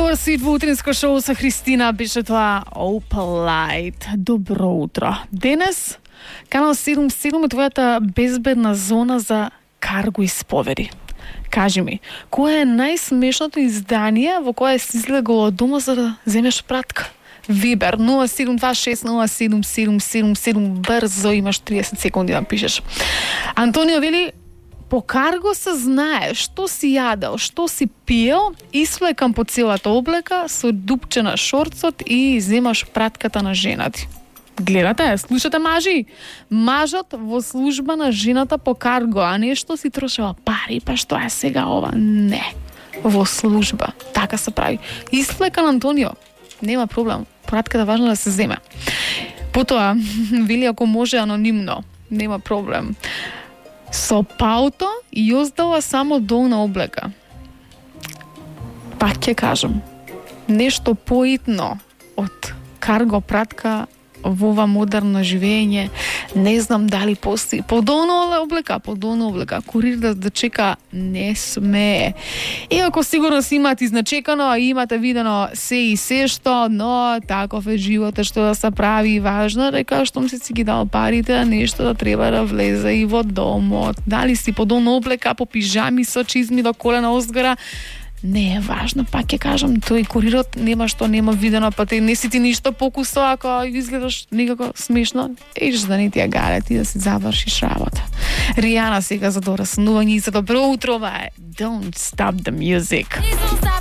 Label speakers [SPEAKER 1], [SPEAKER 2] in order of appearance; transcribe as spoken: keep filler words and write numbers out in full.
[SPEAKER 1] Добар свит во утринско шоу со Христина, беше тоа Opalite. Добро утро. Денес, канал седум седум е твојата безбедна зона за карго исповеди. Кажи ми, кое е најсмешното издание во кое си излегол од дома за да земеш пратка? Вибер нула седум два шест нула седум седум седум седум, брзо, имаш триесет секунди да пишеш. Антонио вели: по карго се знае што си јадел, што си пиел, исфлекам по целата облека со дупче на шорцот и земаш пратката на жена ти. Гледате, слушате мажи? Мажот во служба на жената по карго, а не што си трошела пари, па што е сега ова? Не. Во служба. Така се прави. Исфлекан Антонио. Нема проблем. Пратката важно да се земе. Потоа, вели ако може анонимно. Нема проблем. Со пауто јоздала само долна облека. Пак ќе кажам, нешто поитно од карго пратка во ова модерно живење, не знам дали постои. Подолна облека, подолна облека, курир да, да чека не смее. Иако сигурно си имате изначекано, имате видено се и се што, но таков е животот, што да се прави. Важно дека штом си си ги дал парите, нешто да треба да влезе и во домот. Дали си подолна облека, по пижами со чизми до колена озгора, не е важно, пак ќе кажам, тој курирот нема што нема видено, па те не си ти ништо покусо, ако изгледаш некако смешно, еш да не ти ја гаре, ти да си завршиш работа. Ријана сега за дораснување и за добро утро, ова е Don't Stop the Music.